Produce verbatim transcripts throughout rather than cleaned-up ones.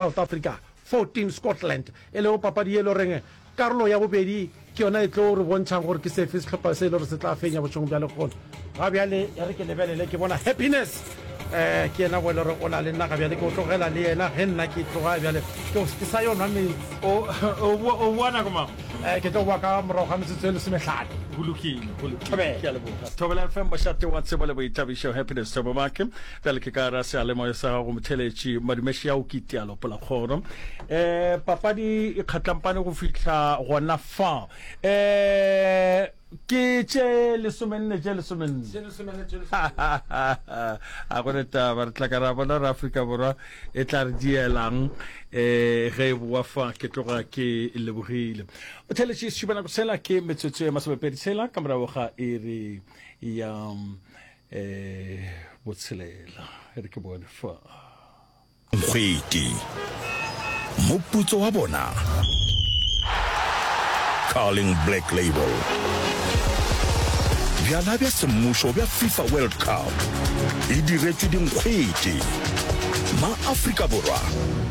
South Africa fourteen Scotland, e lego papadi ye e le goreng karolo ya bobedi ke yona e tlo re bontšhang gore ke sefe sehlopha se e le gore se tla fenya bošegong bja lehono. Ga bjale e re ke lebelele, ke bona Happiness um ke yena bo e le gore o na le nna ga bjale, ke o tlogela le yena ge nna ke tloga bjale ke, ke sa yo nwa meetse. O, o boa, o boa nako mang? Um ke tlo boa ka morago ga metsotso e lesomehlano. Go lokile, go lokile. Thobela. Ke a leboga. Thobela F M, mošate wa tsebo le boithabišo. Happiness Thabo Make. Bjale ke ka gara seyalemoya sa gago motheeletši Madumeši ao ke Tialo Polakgoro. Um papadi e kgatlampane go fihla gona fa. Um ke tše lesomenne tše lesomenne. A go ne taba, re tla ka ra bona gore Afrika Borwa e tla re dielang um ge e boa fa. Ke tloga ke lebogile. Motheeletši, sešupanako sela ke metsotso e masomepedi tshela ka morago ga iri ya eh botshelela. E re ke bone fa. Nkgwete. Moputso wa bona? Carling Black Label. Bjala bja semmušo bja FIFA World Cup e diretšwe dinkgwete. Ma-Afrika Borwa,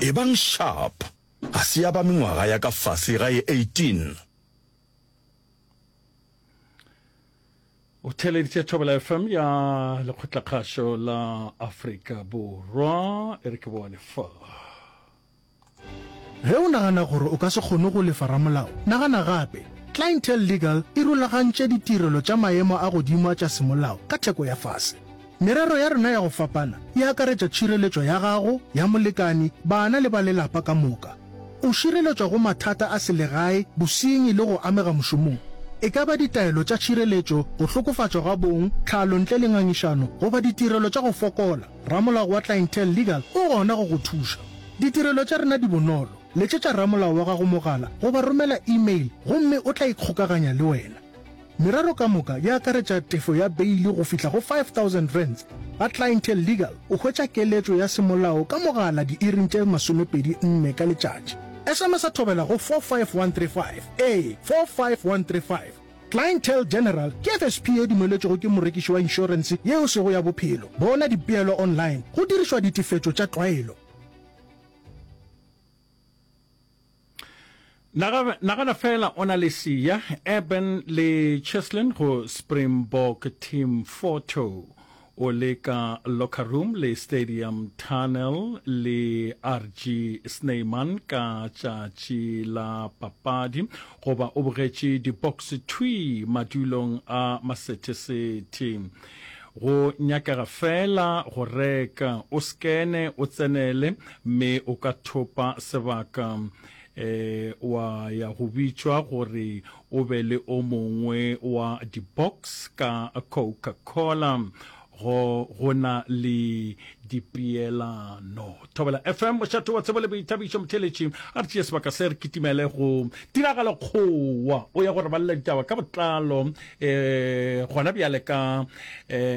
ebang sharp! Ga se ya ba mengwaga ya ka fase ga ye eighteen. O theeleditše Thobela F M ya Lekgotlakgašo la Afrika Borwa. E re ke bone fa. Ge o nagana gore o ka se kgone go lefa ramolao, nagana gape. Clientele Legal e rulagantše ditirelo tša maemo a godimo a tša semolao ka theko ya fase. Merero ya rena ya go fapana e akaretša tšhireletšo ya gago, ya molekani, bana le ba lelapa ka moka. O šireletšwa go mathata a selegae, bosenyi le go amega mošomong. E ka ba ditaelo tša tšhireletšo, go hlokofatšwa ga bong, tlhalo ntle le ngangišano, goba ditirelo tša go fokola, ramolao wa Clientele Legal o gona go go thuša. Ditirelo tša rena di bonolo. Letšetša ramolao wa gago mogala goba romela e-mail gomme o tla ikgokaganya le wena. Merero ka moka e akaretša tefo ya beili go fihla go five thousand rands. Ga Clientele Legal o hwetša keletšo ya semolao ka mogala diiring tše masomepedi nne ka letšatši. S M S a thobela go four five one three five, ee, four five one three five. Clientele General ke F S P ye dumeletšwego ke morekiši wa inšorense ye e sego ya bophelo. Bona dipeelo online go dirišwa ditefetšo tša tlwaelo. Nagana fela o na le Siya, Eben le Cheslin go Springbok Team Photo, o le ka locker room le Stadium Tunnel le R G Snyman ka tšatši la papadi, goba o bogetše di-box thwii madulong a masethesethe. Go nyakega fela go reka, o skene, o tsenele, mme o ka thopa sebaka e wa ya go bitšwa gore o be le o mongwe wa di-box ka Coca-Cola. Go go na le dipeelano. Thobela F M, mošate wa tsebo le boithabišo. Motheeletši, a re tšee sebaka se re kitimele go tiragalo kgowa o ya go re balela ditaba ka botlalo um gona bjale ka um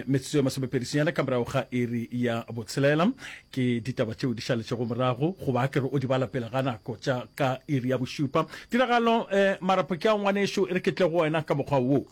metsotso e masomepedi senyane ka morago ga iri ya botshelela. Ke ditaba tšeo di šaletšego morago, goba a ke re o di bala pele ga nako tša ka iri ya bošupa. Tiragalo, um marapo ke a ngwanešo, e re ke tle go wena ka mokgwa wo.